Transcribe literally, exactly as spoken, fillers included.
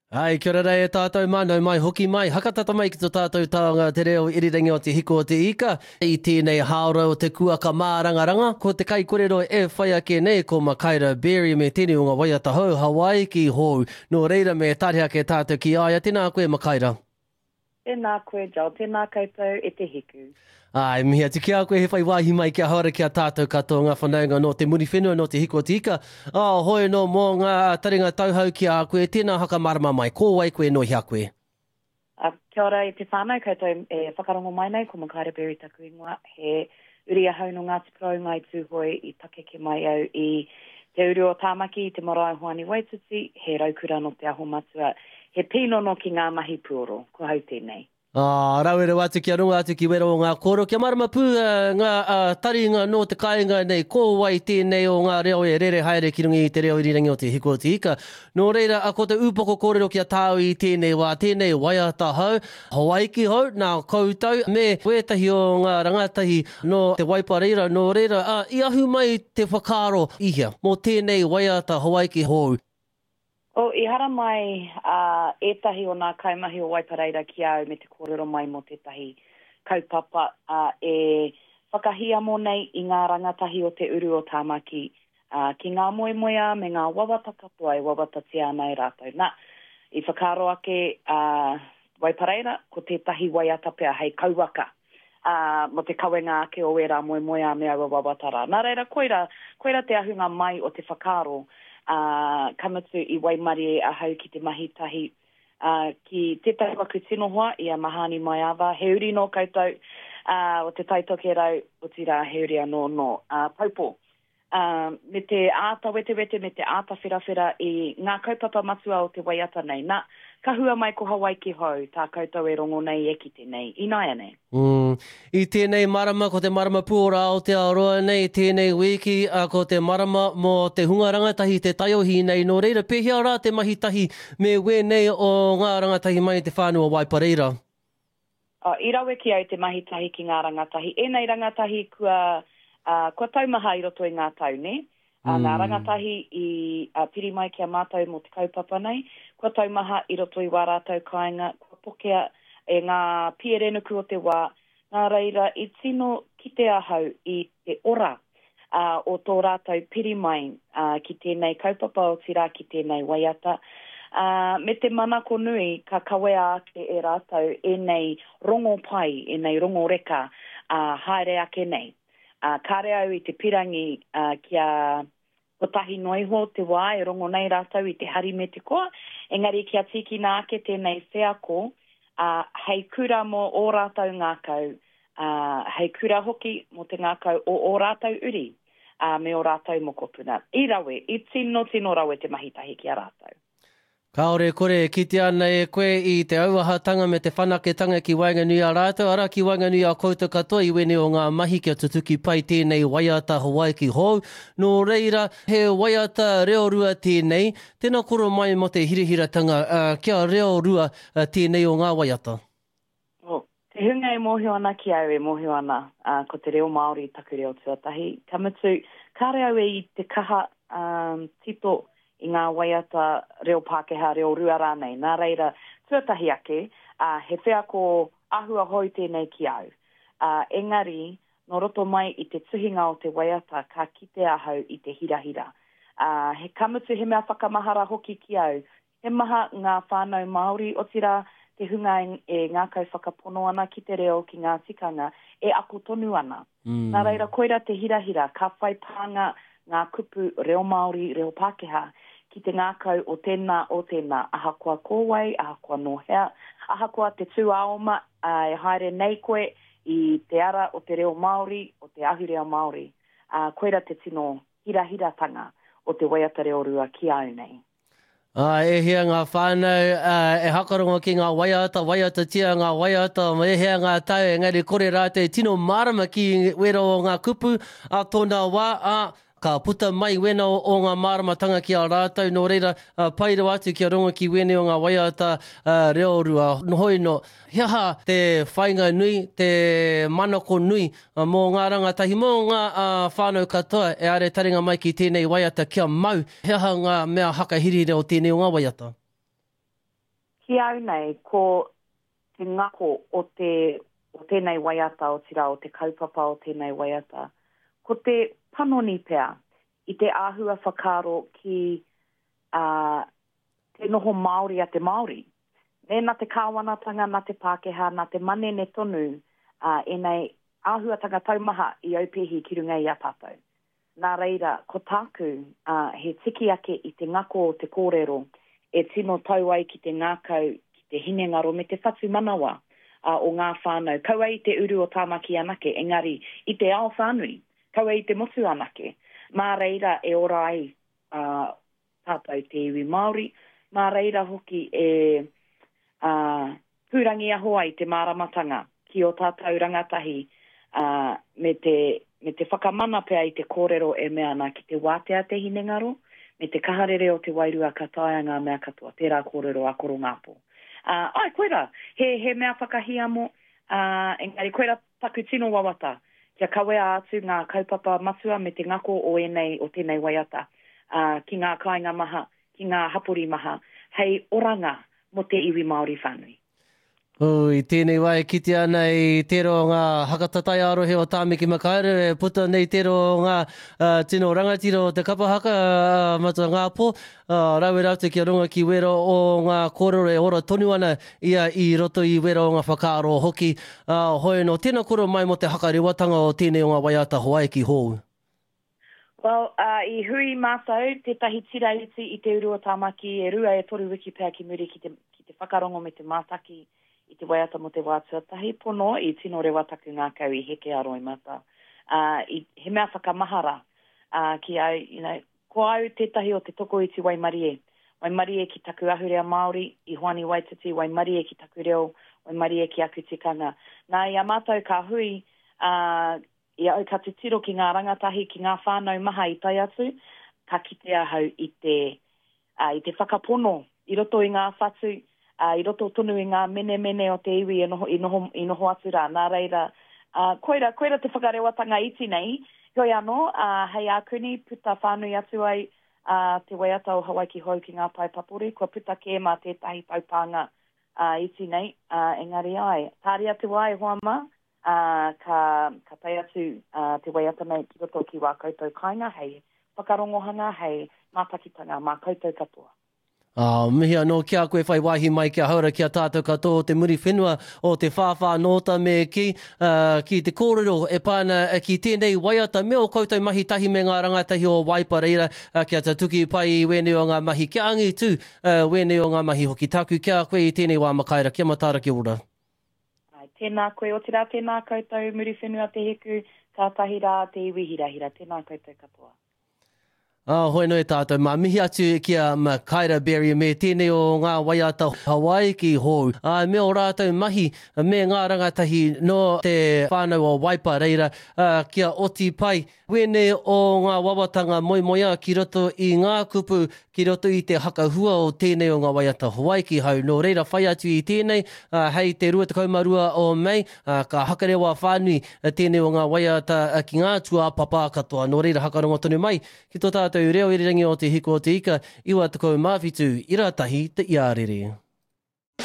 Ai, kia ora rā e tātou mā, nau mai hoki mai, hakatata mai ki tō tātou taonga te reo irirangi o Te Hiko o Te Ika. I tēnei hāora o te kuaka mārangaranga, ko te kaikorero e whai ake nei ko Makaira Berry me tēnei o ngā waiata hou, Hawaiki hou. Nō reira me tare ake tātou ki a ia. Tēnā koe Makaira. Tēnā koe Joel, tēnā koutou e te hiku. Āe, mihi atu ki a koe he whai wāhi mai kia haora ki a tātou katoa ngā whanaunga nō te Muriwhenua, nō Te Hiko o Te Ika. Ā, hoi anō mō ngā taringa tauhou ki a koe, tēnā whakamārama mai, ko wai koe, nō hea koe? Ā, kia ora e te whānau, koutou e whakarongo mai nei, ko Makaira Berry taku ingoa, he uri ahau nō Ngāti Porou, Ngāi Tūhoe, i pakeke mai au i te uru o Tāmaki, i te marae o Hoani Waititi, he raukura nō Te Aho Matua, he pīnono ki ngā mahi puoro, ko hau tēnei. Ā, rawe rawa atu kia rongo atu ki wera o ngā kōrero, kia mārama pū ngā taringa nō te kāinga nei, ko wai tēnei o ngā reo e rere haere ki runga i te reo irirangi o Te Hiko o Te Ika. Nō reira, ko te ūpoko kōrero ki a tāu i tēnei wā, tēnei waiata hou, Hawaiki hou, nā koutou me wētahi o ngā rangatahi nō Te Waipareira, nō reira, ā, i ahu mai te whakaaro i hea mō tēnei waiata Hawaiki hou? Oh, i haramai uh, ētahi o nā kaimahi o Waipareira ki au me te kōrero mai mō tētahi kaupapa uh, e whakahiamo nei i ngā rangatahi o te uru o Tāmaki uh, ki ngā moemoeā me ngā wawata katoa e wawatatia ana e rātou. Nā, i whakaaro ake uh, Waipareira, ko tētahi waiata pea hei kauwaka uh, mō te kawenga ake o ērā moemoeā me aua wawata rā. Nā reira, koira, koira te ahunga mai o te whakaaro, uh, ka mutu i waimarie ahau ki te mahi tahi uh, ki tētahi waku tino hoa i a Mahani Maiava, he uri nō koutou uh, o te Tai Tokerau, otirā he uri anō nō uh, Taupō. Uh, me te āta wetewete, me te āta wherawhera i ngā kaupapa matua o te waiata nei. Nā, ka hua mai ko Hawaiki hou, tā koutou e rongo nei e kite nei, ināianei. Mm. I tēnei marama, ko te marama pūora Aotearoa nei, tēnei wiki, a, ko te marama mō te hunga rangatahi, te taiohi nei, nō reira, pēhea rā te mahi tahi me wēnei o ngā rangatahi mai i te whānau o Waipareira? Oh, i rawe ki au te mahi tahi ki ngā rangatahi. Ēnei rangatahi kua... Uh, kua taumaha i roto i ngā tau, ne? Uh, mm. Ngā rangatahi i uh, piri mai ki a mātou mō te kaupapa nei, kua taumaha i roto i wā rātou kāinga, kua pokea e ngā pierenuku o te wā, nā reira i tino kite ahau i te ora uh, o tō rātou piri mai uh, ki tēnei kaupapa otirā ki tēnei waiata. Uh, me te manako nui ka kawea ake e rātou ēnei rongo pai, ēnei rongo reka uh, haere ake nei. Uh, kāre au i te pirangi uh, kia kotahi noa iho te wā e rongo nei rātou i te hari me te koa, engari kia tīkina ake tēnei wheako uh, hei kura mō ō rātou ngākau, uh, hei kura hoki mō te ngākau o ō rātou uri uh, me ō rātou mokopuna. I rawe, i tino tino rawe te mahi tahi ki a rātou. Kāore kore e kitea ana e koe i te auahatanga me te whanaketanga ki waenganui a rātou, arā ki waenganui a koutou katoa i wēnei o ngā mahi kia tutuki pai tēnei waiata Hawaiki hou. Nō reira, he waiata reo rua tēnei, tēnā koro mai mō te hirahiratanga uh, kia reo rua uh, tēnei o ngā waiata. Oh, te hunga e mōhio ana ki au e mōhio ana, uh, ko te reo Māori taku reo tuatahi. Ka mutu, kāre au e i te kaha um, tito i ngā waiata reo Pākehā, reo rua rānei. Nā reira, tuatahi ake, uh, he wheako ahua hou tēnei ki au. Uh, engari, nō roto mai i te tuhinga o te waiata, ka kite ahau i te hirahira. Uh, he ka mutu he mea whakamahara hoki ki au. He maha ngā whānau Māori, otirā te hunga e, e ngākau whakapono ana ki te reo, ki ngā tikanga, e ako tonu ana. Mm. Nā reira, koira te hirahira, ka whai pānga ngā kupu reo Māori, reo Pākehā, ki te ngākau o tēnā, o tēnā, ahakoa ko wai, ahakoa nō hea, ahakoa te tūāoma uh, e haere nei koe i te ara o te reo Māori, o te ahurea Māori. Uh, koira te tino hirahiratanga o te waiata reo rua ki au nei. Uh, e hea ngā whānau uh, e hakarongo ki ngā waiata, waiatatia ngā waiata, e hea ngā tau, engari kore rātou tino mārama ki wera o ngā kupu a tōna wā, a ka puta mai wena o, o ngā māramatanga ki a rātou, nō reira, uh, pai rawa atu kia rongo ki wēnei o ngā waiata uh, reo rua. Hoi no, he aha te whainga nui, te manako nui uh, mō ngā rangatahi, mō ngā uh, whānau katoa e are taringa mai ki tēnei waiata kia mau, he aha ngā mea hakahirihira o tēnei o ngā waiata? Ki au nei, ko te ngako o te o tēnei waiata, otirā o te kaupapa o tēnei waiata, ko te panoni pea i te āhua whakaaro ki uh, te noho Māori a te Māori. Nē, nā te kāwanatanga, nā te Pākehā, nā te manene tonu uh, ēnei āhuatanga taumaha i aupehi ki runga i a tātou. Nā reira, ko tāku uh, he tiki ake i te ngako o te kōrero e tino tau ai ki te ngākau, ki te hinengaro me te whatumanawa uh, o ngā whānau. Kaua i te uru o Tāmaki anake, engari i te ao whānui, kaua i te motu anake. Mā reira e ora ai uh, tātou te iwi Māori, mā reira hoki e uh, pūrangiaho ai te māramatanga ki o tātou rangatahi uh, me te, me te whakamana pea i te kōrero e mea ana ki te wātea te hinengaro, me te kaharere o te wairua ka taea ngā mea katoa, tērā kōrero a Koro Ngāpō. Uh, ai, koira, he, he mea whakahiamo, uh, engari koira taku tino wawata, kia kawea atu ngā kaupapa matua me te ngako o ēnei, o tēnei waiata, uh, ki ngā kāinga maha, ki ngā hapori maha, hei oranga mō te iwi Māori whānui. Oh, i tēnei wā e kite ana i tērā o ngā hakatatai ā-rohe o Tāmaki Makaurau e puta nei tērā o ngā uh, tino rangatira o te kapa haka uh, Matua Ngāpō, uh, rawe rātou kia runga ki wera o ngā kōrero e ora tonu ana ia i roto i wera o ngā whakaaro hoki. Uh, hoi no, tēnā koro mai mo te hakarewatanga o tēnei o ngā waiata Hawaiki hou. Well, uh, i hui mātou tētahi tira iti i te uru o Tāmaki e rua e toru wiki pea ki muri ki te, ki te whakarongo me te mātaki i te waiata mo te wā tuatahi pono i tino rewa taku ngākau i heke a roimata. Uh, i, he mea whakamahara uh, ki au, you know, ko au tētahi o te tokoiti waimarie. Waimarie ki taku ahurea Māori, i Hoani Waititi, waimarie ki taku reo, waimarie ki aku tikanga. Nā, i a mātou ka hui, uh, i au ka titiro ki ngā rangatahi, ki ngā whānau maha i tae atu, ka kite ahau i te, uh, i te whakapono, i roto i ngā whatu, uh, i roto tonu i ngā menemene o te iwi e noho, i, noho, i noho atu rā. Nā reira, uh, koira, koira te whakarewatanga iti nei, heoi anō, uh, hei ākuni puta whānui atu ai uh, te waiata o Hawaiki Hou ki ngā pae papori, kua puta kē mā tētahi taupānga uh, iti nei, uh, engari ai. Tāria te wā e hoa mā, uh, ka, ka tae atu uh, te waiata nei ki roto ki wā koutou kāinga, hei whakarongohanga, hei mātakitanga mā koutou katoa. Uh, mihi anō ki a koe whai wāhi mai kia haura ki a tātou katoa o te Muriwhenua o te whāwhā nōta me ki, uh, ki te kōrero e pā ana ki tēnei waiata me o koutou mahi tahi me ngā rangatahi o Waipareira uh, kia tatuki pai i wēnei o ngā mahi, kia angitu uh, wēnei o ngā mahi hoki. Tāku kia koe i tēnei wā Makaira, kia mataara kia ora. Ai, tēnā koe, otirā tēnā koutou Muriwhenua te hiku, kātahi rā te iwi hirahira, tēnā koutou katoa. Ah, hoi noi tātou, mā mihi atu ki a Makaira Berry me tēnei o ngā waiata Hawaiki hou. Ah, me o rātou mahi me ngā rangatahi no te whānau o Waipareira ah, kia oti pai. Wēnei o ngā wawatanga moemoeā ki roto i ngā kupu, ki roto i te hakahua o tēnei o ngā waiata Hawaiki hau. Nō reira whai atu i tēnei, ah, hei te rua tekau mā rua o Mei, ah, ka hakarewa whānui tēnei o ngā waiata ki ngā tūāpapa katoa. Nō reira hakarongo tonu mai ki tō tātou reo irirangi o te hiko o te ika, iwa tekau mā whitu, ira tahi te iarere.